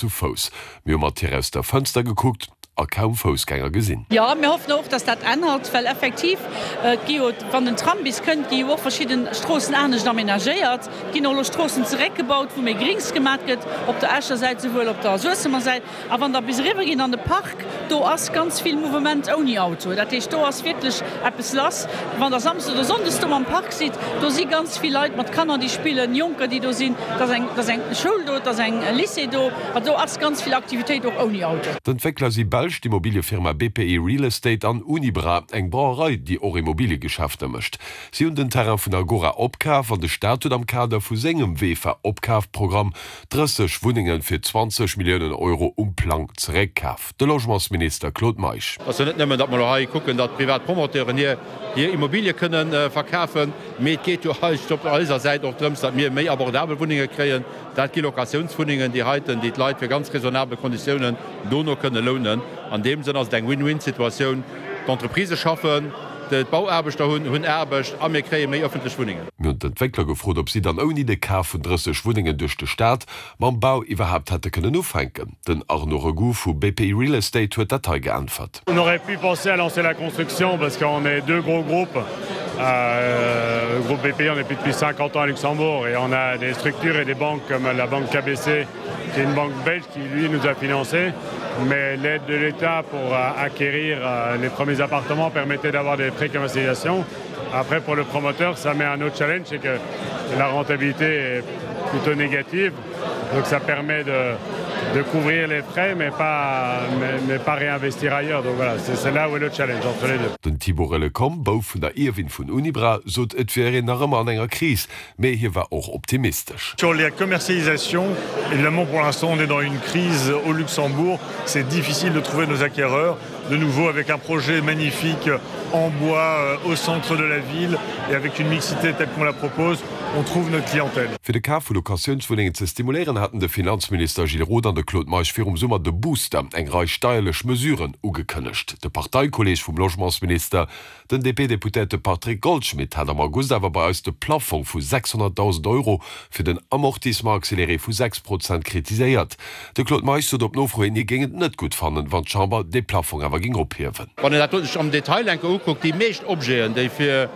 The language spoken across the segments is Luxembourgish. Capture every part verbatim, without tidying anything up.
Zu Fouss. Mir hu mat hir aus der Fënster gekuckt a kaum Foussgänger gesinn. Jo, mir hoffen och, dass dat ännert, well effektiv, et gi jo, wann den Tram bis kënnt, gi jo och verschidde Stroossen anescht amenagéiert. Et ginn och elo Stroossen zeréckgebaut, wou méi Grings gemat gëtt, op der Escher Säit souwuel op der Suessemer Säit. A wann Der bis eriwwer gitt an de Park, do ass ganz vill Mouvement ouni Auto. Dat heescht, do ass wierklech eppes lass. Wann Der samsdes oder sonndes do am Park sidd, do si ganz vill Leit mat Kanner, déi spillen, Jonker, déi do sinn. Et ass eng, et ass eng Schoul do, et ass eng Lycée do. Also do ass ganz vill Aktivitéit och ouni Auto. D'Entwéckler si belsch, d'Immobiliëfirma B P I Real Estate an Unibra, eng Brauerei, déi och Immobiliegeschäfter mécht. Si hunn den Terrain vun Agora opkaf an de Staat huet am Kader vu sengem VEFA-Opkafprogramm drësseg Wunnenge fir zwanzeg Milliounen Euro um Plang zeréckkaf. De Logementsminister Claude Meisch. Et ass jo net nëmmen, datt mer elo hei kucken, datt privat Promoteuren hir hir Immobilie kënne verkafen, mee et geet jo eigentlech op eiser Säit och drëms, datt mir méi abordabel Wunnenge kréien. Dat gi Locatiounswunnengen, déi heiten, déi d'Leit fir ganz raisonnabel Konditiounen dono kënne lounen. An deem Sënn ass et eng Win-win-Situatioun, D'Entreprisë schaffen, d'Bauaarbechter hunn Aarbecht a mir kréie méi ëffentlech Wunnengen. Mir hunn d'Entwéckler gefrot, ob si dann ouni de Kaf vun drësseg Wunnengen duerch de Staat mam Bau iwwerhaapt hätte kënnen ufänken. Den Arnaud Regout vu B P I Real Estate huet dat hei geäntwert. On aurait pu penser à lancer la construction parce qu'on est deux gros groupes, le groupe B P I, on est plus depuis cinquante ans à Luxembourg et on a des structures et des banques comme la banque K B C, qui est une banque belge qui lui nous a financé. Mais l'aide de l'État pour acquérir les premiers appartements permettait d'avoir des précommercialisations. Après, pour le promoteur, ça met un autre challenge, c'est que la rentabilité est plutôt négative. Donc ça permet de, de couvrir les frais, mais pas, mais, mais pas réinvestir ailleurs. Donc voilà, c'est, c'est là où est le challenge entre les deux. Den Thibaut Relecom, Bouf vun der Ierwin vun Unibra, sot, et wier een nach ëmmer an enger Kris, mee hie war och optimistesch. Sur la commercialisation, évidemment pour l'instant on est dans une crise au Luxembourg, c'est difficile de trouver nos acquéreurs. De nouveau avec un projet magnifique en bois au centre de la ville et avec une mixité telle qu'on la propose, on trouve notre clientèle. Fir de Kaf vu Locatiounswunnengen ze stimuléieren, haten de Finanzminister Gilles Roth an de Claude Meisch virum Summer de Booster, eng Rei steierlech Mesuren, ugekënnegt. De Parteikolleeg vum Logementsminister, den D P-Deputéierte Patrick Goldschmidt, hat am August awer bei eis de Plaffong vu sechshonnertdausend Euro fir den Amortissement accéléré vu sechs Prozent kritiséiert. De Claude Meisch sot op Nofro hin, hie géing et net gutt fannen, wann d'Chamber dee Plaffong awer géing ophiewen. Wann een dat do sech am Detail enke ukuckt, déi meescht Objeten, déi fir,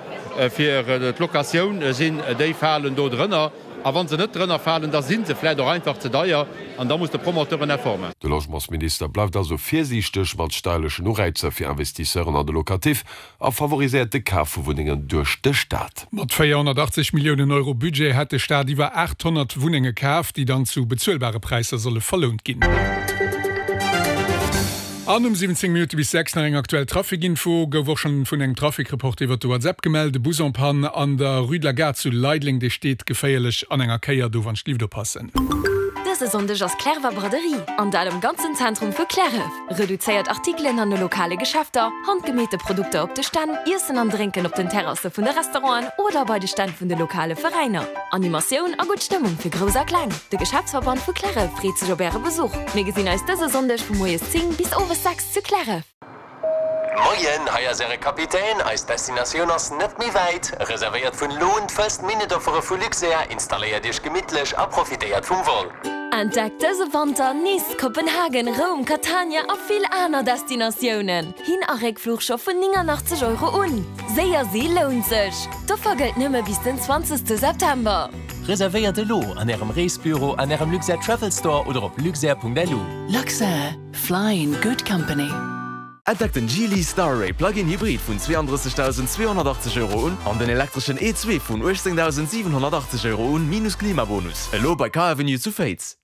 fir d'Locatioun sinn, déi falen do drënner. A wann se net drënner falen, da si se vläicht och einfach ze deier an da muss de Promoteur en Effort maachen. De Logementsminister bleift also virsiichteg mat steierlechen Ureizer fir Investisseuren an de Locatif a favoriséiert de Kaf vu Wunnengen duerch de Staat. Mat véierhonnertachtzeg Milliounen Euro Budget hätt de Staat iwwer aathonnert Wunnenge kaf, déi dann zu bezuelbare Präisser solle verlount ginn. An um siwwenzéng Minutte bis sechs nach eng aktuell Trafikinfo. Gouf och schonn vun engem Trafikreport iwwert de WhatsApp gemellt. E Bus en panne an der Rue de la Gare zu Leideleng, dee steet geféierlech an enger Kéier. Do wann d'Lift oppassen. Dëse Sonndeg ass Clerwer Braderie, an dat am ganzen Zentrum vu Clärref. Reduzéiert Artikelen an de lokale Geschäfter, handgemeete Produkter op de Stänn, Iessen an Drénken op den Terrasse vun de Restauranten oder bei de Stänn vun de lokale Veräiner. Animatioun a gutt Stëmmung fir Grouss a Kleng. De Geschäftsverband vu Clärref freet sech op äre Besuch. Mir gesinn eis dëse Sonndeg vu moies zéng bis owes sechs zu Clärref. Moien, hei ass äre Kapitän. Eis Destinatioun ass net méi wäit. Reservéiert vun elo un d'First-Minute-Offere vu Luxair, installéiert iech gemittlech a profitéiert vum Vol. Entdeckt dëse Wanter Nice, Kopenhagen, Roum, Catania a vill aner Destinatiounen. Hin a Réckfluch scho vun néngannachtzeg Euro un. Séier si lount sech! D'Offer gëllt nëmme bis den zwanzegste September. Reservéiert elo an ärem Reesbüro, an ärem Luxair Travel Store oder op luxair punkt lu. Luxair, fly in good company. Entdeckt den Geely Starray Plug-in Hybrid vun zweeandrëssigdausendzweehonnertachtzeg Euro un an den elektreschen E zwee vun uechtzéngdausendsiwenhonnertachtzeg Euro un, minus Klimabonus. Elo bei Car Avenue zu Féiz.